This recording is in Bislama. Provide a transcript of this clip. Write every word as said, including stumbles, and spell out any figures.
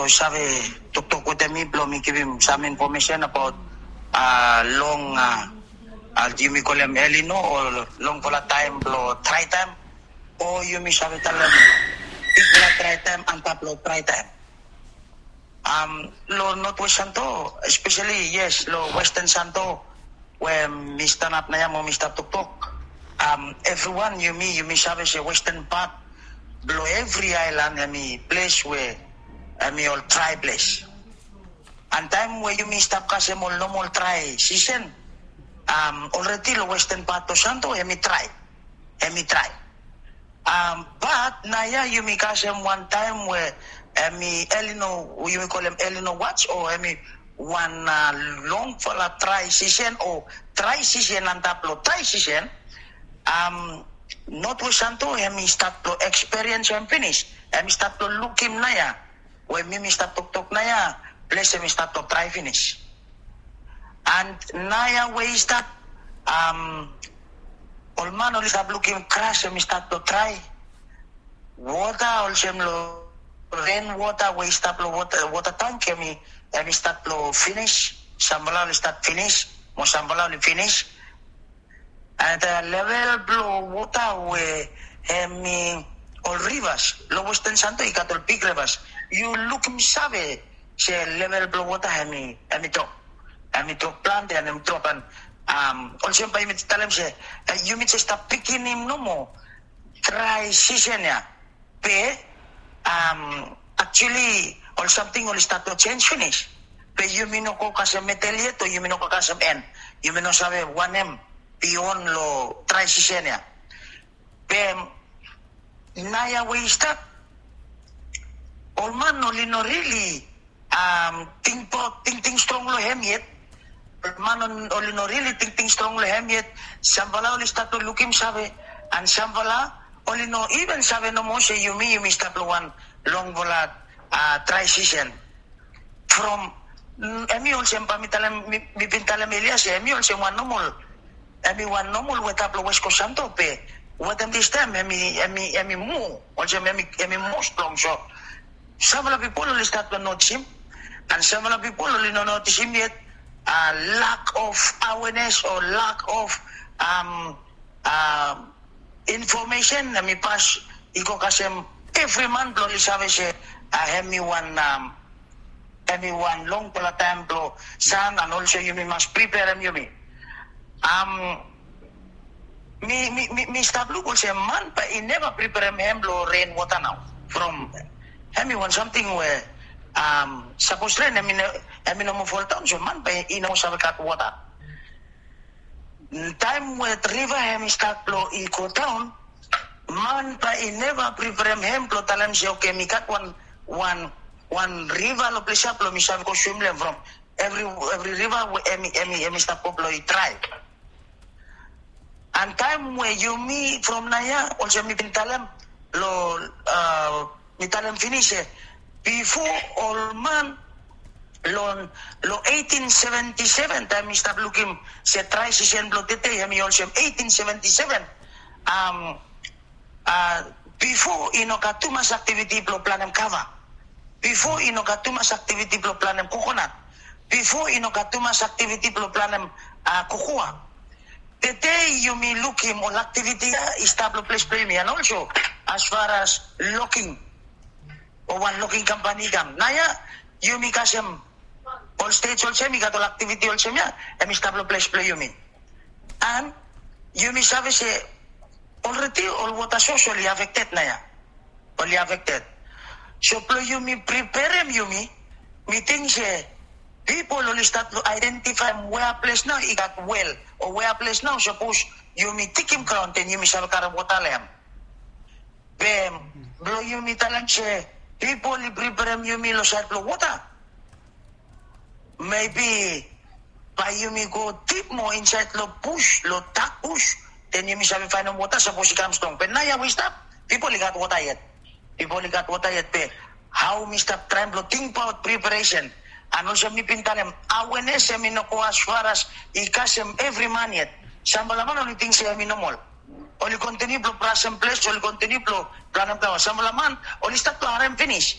save toktok wetem mi blong mi givim sam infomesen abaot long, yumi kolem El Nino o longfala taem blong trae taem, o yumi save talem bigfala trae taem antap long trae taem. Long Northwest Santo, especially, yes, long Western Santo, we mi stanap naoia mo mi stap toktok. Evriwan, yumi yumi save se Western pat blong evri aelan hemi ples we hemi ol trae ples. An taem we yumi stap kasem ol nomol trae sisen, olredi long Western pat blong Santo hemi trae, hemi trae. Bat naoia yumi kasem wan taem we hemi El Nino, yumi kolem El Nino wats, o hemi wan longfala trae sisen o trae sisen antap long trae sisen. Northwest Santo hemi stat blong ekspiriensem finis, hemi stat blong lukim naoia we mi mi stap toktok naoia, ples hemi stat blong trae finis. An naoia we i stap, ol man oli stap lukim gras hemi stat blong trae. Wota olsem long ren wota we i stap long wota, wota tank hemi, hemi stat blong finis. Samfala oli stat finis mo samfala oli finis. An level blong wota we hemi ol rivas long Western Santo i gat ol big rivas. Yu lukim save se level blong wota hemi, hemi drop, hemi drop plante an hemi drop an olsem bae yumi talem se yumi jes stap pikinim nomo trae sisen ya. Be aktuali ol samting oli stat long jenis finis. Be yumi no go kasem medel yet o yumi no go kasem en. Yumi no save wanem bion long trae sisen ya. Be naoia we i stap, ol man oli no rili tingbaot, tingting strong long hem yet. Ol man oli no rili tingting strong long hem yet. Samfala oli stat long lukim save, an samfala oli no iven save nomo se yumi yumi stap long wan longfala trae sisen. From hemi olsem bae mi talem, mi bin talem elia se hemi olsem wan nomol, hemi wan nomol weta blong West Coast Santo, be wetem distaem hemi, hemi, hemi moa olsem, hemi moa strong. So samfala pipol oli stat blong notisim, an samfala pipol oli no notisim yet. Lack of awareness o lack of infomesen hemi pas i go kasem evri man blong oli save se hemi wan, hemi wan longfala taem blong san, an olsem yumi mas priperem yumi. Mi, mi, mi stap luk olsem man bae i neva priperem hem long ren wota nao. From hemi wan samting we sapos ren hemi no moa foldaon, so man bae i no moa save gat wota. Taem we riva hemi stat blong i godaon, man bae i neva priperem hem blong talem se oke, mi gat wan, wan, wan riva long ples ya blong mi save go swim long hem. From evri, evri riva we hemi, hemi, hemi stap go blong i drae. An taem we yumi from naoia, olsem mi bin talem long, mi talem finis se bifo ol man long, long eighteen seventy-seven, taem mi stap lukim se drae sisen blong tede hemi olsem eighteen seventy-seven. Bifo i no gat tumas aktiviti blong planem kava. Bifo i no gat tumas aktiviti blong planem kokonat. Bifo i no gat tumas aktiviti blong planem kokoa. Tede yumi lukim ol aktiviti ya i stap long ples blong yumi, an olso as far as logging, o wan logging kampani i kam. Naoia yumi kasem ol stej olsem i gat ol aktiviti olsem ya, hemi stap long ples blong yumi. An yumi save se olredi ol wota sos oli afekted naoia. Oli afekted. So blong yumi priperem yumi, mi ting se pipol oli stat long aedentifaem wea ples nao i gat wel, o wea ples nao sapos yumi digim graon den yumi save karem wota long hem. Be blong yumi talem se pipol i priperem yumi long saed blong wota. Mebi bae yumi go dip moa insaed long bus, long dak bus, den yumi save faenem wota sapos i kam strong. Be naoia we i stap, pipol i gat wota yet. Pipol i gat wota yet, be hao mi stap traem blong tingbaot priperesen. An olsem mi bin talem, awenes hemi no go as far as i kasem evri man yet. Samfala man oli ting se hemi nomol. Oli kontiniu blong brasem ples, oli kontiniu blong planem flaoa. Samfala man oli stat blong harem finis.